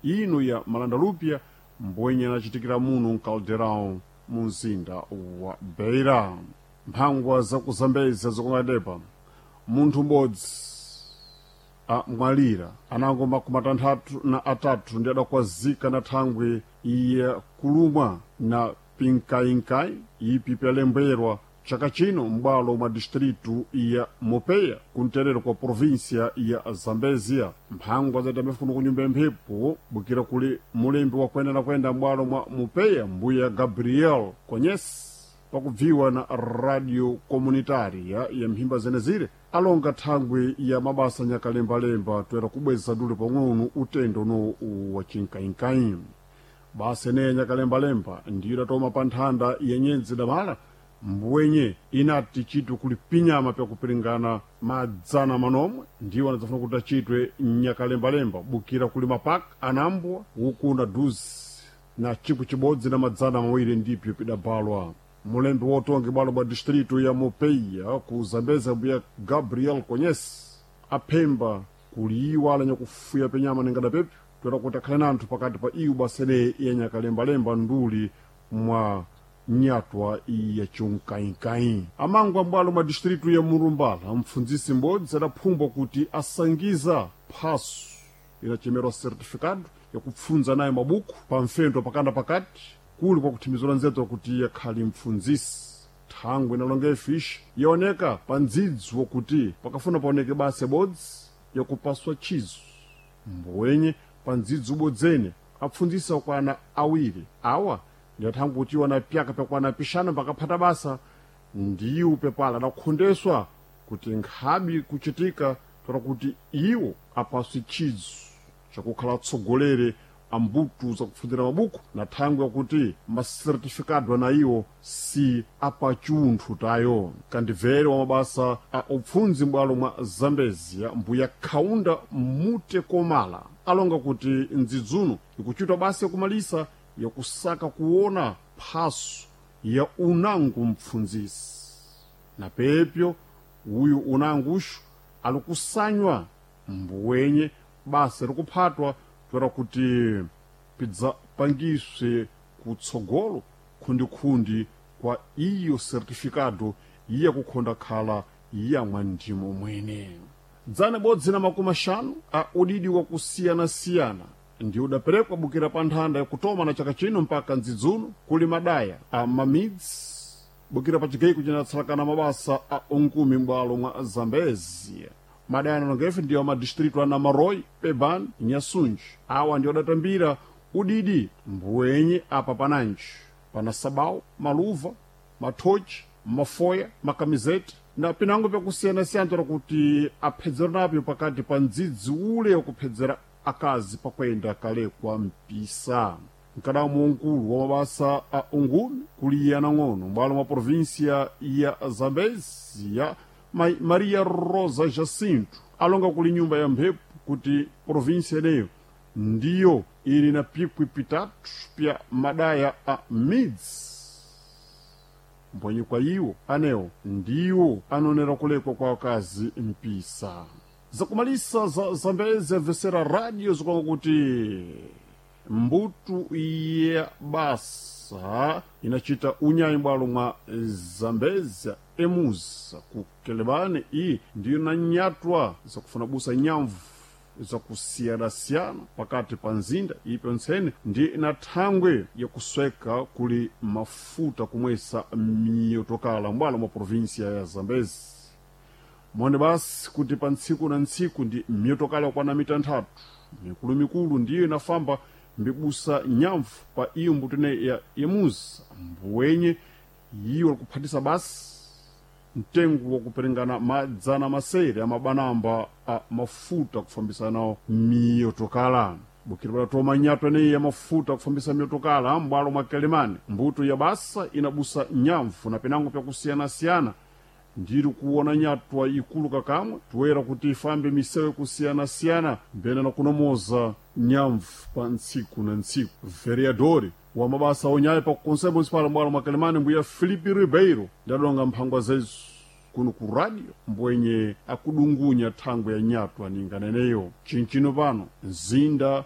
Ino ya malandalupya mbwenye anachitikira muno mkalderão mu mzinda wa Beira. Mphangwa zakuzambeza zikumadepa munthu m'bodzi amwalira anango 63 ndi adakwazika na thangwe ya kulumwa na pinkainkai ipi pyalembwerwa chaka chino m'bwalo mwa distritu ya Mopeya kunterero kwa província ya Zambezia. Mphangwa zatambefu kuno kunyumba ya mphepo bukira kuli mulembi wa kwenda na kwenda m'bwalo mwa Mopeya mbuya Gabriel Konyesi pakubviwa na radio comunitaria ya mphimba zenezire alonga thangwi ya mabasa nyakalembalemba toera kubweza dule pang'ono utendo no wa chinkainkai. Basa eneya nyakalembalemba ndiyo idatoma pa nthanda ya nyendzi damala mbwenye inati chitwe kuli pinyama pyakupiringana madzana manomwe ndiwo anadzafuna kuti achitwe nyakalembalemba bukira kuli mapaka anambwa uku na duzi na chikwi chibodzi na madzana mawiri ndipyo pidabalwa. Mulembi wotonge bwalo bwa distritu ya Mopeia ku Zambeza mbuya Gabriel Konyesi aphemba kuliyiwala nyakufuya penyama ningada pepyo toera kuti akhale nanthu pakati pa iwu basene ya nyakalembalemba nduli mwa nyatwa ya chunkainkai. Amangu ambwalo mwa distritu ya Murumbala mpfundzisi m'bodzi adaphumbwa kuti asangiza phaso inachemerwa certificado yakupfunza naye mabuku pa mfendo pakanda pakati kuli kwa kuthimizira nzeto kuti yakhali mpfundzisi. Thangwe inalonga ifishi yaoneka pa ndzidzi wakuti pakafuna paoneke basa ibodzi yakupaswa chizo mbwenye pa ndzidzi ubodzene apfundzisi akwana awiri awa ndiyathangwe kuti iwo anapyaka pyakwana pixanu pakaphata basa ndiwo pepala adakhondeswa kuti nkhabi kuchitika tola kuti iwo apaswe chizo chakukhala atsogolere ambutu zakupfundzira mabuku na thangwe yakuti masertifikado ana iwo si apachunthu tayo. Kandibvere wa mabasa a upfundzi m'bwalo mwa Zambezia mbuya Kaunda Mutekomala alonga kuti ndzidzuno ikuchitwa basa yakumalisa yakusaka kuona phaso ya unangu mpfundzisi na pepyo uyu unanguxu alikusanywa mbwenye basa likuphatwa toera kuti pidzapangiswe kutsogolo khundikhundi kwa iyo certificado iya kukhonda khala yamwa ndimo mwene. Dzana bodzi na 50 a udidi wa kusiyanasiyana ndi udaperekwa bukira pa nthanda yakutoma na chaka chino mpaka ndzidzuno kuli madaya a mamidzi bukira pa chigaiko cinatsalakana mabasa a unkumi m'bwalo mwa Zambezia. Madaya analongefe ndiwo madistritu a Namaroi, Pebani, Nyasunji. Awa ndiwo adatambira udidi mbwenye apa pananji pana sabau, maluva, mathochi, mafoya, makamizeti na pinango pyakusiyanasiyana toera kuti aphedzera napyo pakati pa ndzidzi ule wakuphedzera akazi pakwenda kalekwa mpisa. Mkadamu wankulu wa mabasa a ungumi kuli yanang'ono m'bwalo mwa província ya Zambezia Maria Rosa Jacinto alonga kuli nyumba ya mphepo kuti província eneyo ndiyo ili na pikwi pitatu pya madaya a midzi mbwenye kwa iwo anewo ndiwo anonera kulekwa kwa akazi mpisa. Zakumalisa za Zambezi amvesera radio zikwanga kuti mbutu ya basa inachita unyayi bwalo mwa Zambezia emuza ku Kelebane iyi ndiyo nanyatwa zakufuna busa nyamvu zakusiyanasiyana pakati pa nzinda ipo ntsene ndi na thangwe yakusweka kuli mafuta kumwesa miyotokala mbwalo mwa província ya Zambezi. Mone basi kuti pa ntsiku na ntsiku ndi miyotokala yakwana mitanthatu mikulumikulu ndiyo inafamba mbibusa nyamvu pa iyo mbuto ineyi ya emuza mbwenye yiwo likuphatisa basi mtengo wakuperingana madzana masere amabanamba a mafuta kufambisa nawo miyotokala. Bukira padatoma nyato eneyi ya mafuta kufambisa miyotokala m'bwalo mwa Kelemane mbuto ya basa inabusa nyamvu na pinango pyakusiyanasiyana ndiri kuona nyatwa ikulu kakamwe toera kuti ifambe misewu kusiyana-siyana mbena na kunomoza nyamvu pa ntsiku na ntsiku. Vereadori wa mabasa onyayi pa conselho municipal m'bwalo mwa Kelemane mbuya Filipe Ribeiro ndadonga mphangwa zezu kuno ku radio mbwenye akudungunya thangwe ya nyatwa ninganeneyo. Chinchino pano mzinda